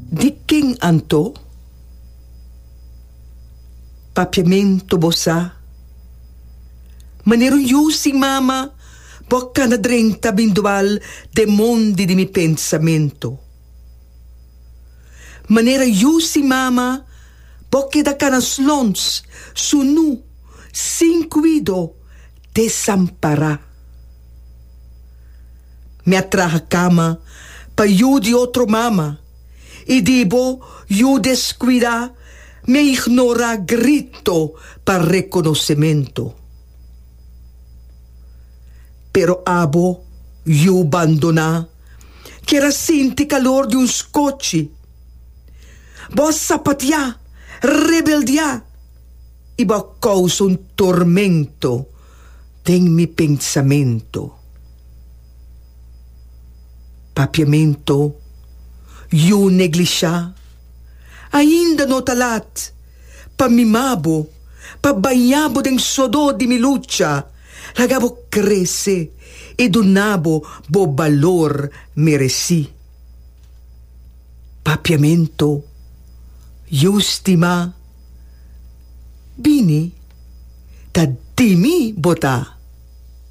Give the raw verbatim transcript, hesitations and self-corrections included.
Di ken anto? Papiamento bo sa. Manera un yu sin mama, bo a kana drenta bin dwal den mondi di mi pensamento. Manera yu sin mama, bo a keda kana slons, sunú, sin kuido, desampará. Mi a traha kama pa yu di otro mama i di bo yu deskuidá mi a ignorá grito pa rekonosementu. Pero abo, yu bandoná, kier a sinti kalor di un skochi. Bo a sapatiá, rebeldiá i bo a kousa un tormento den mi pensamentu. Papiamento, yu neglishá, ainda no ta lat pa mima bo, pa baña bo den sodó di mi lucha, laga bo krese i duna bo bo balor meresí. Papiamento, yu stimá, bini, ta di mi bo ta.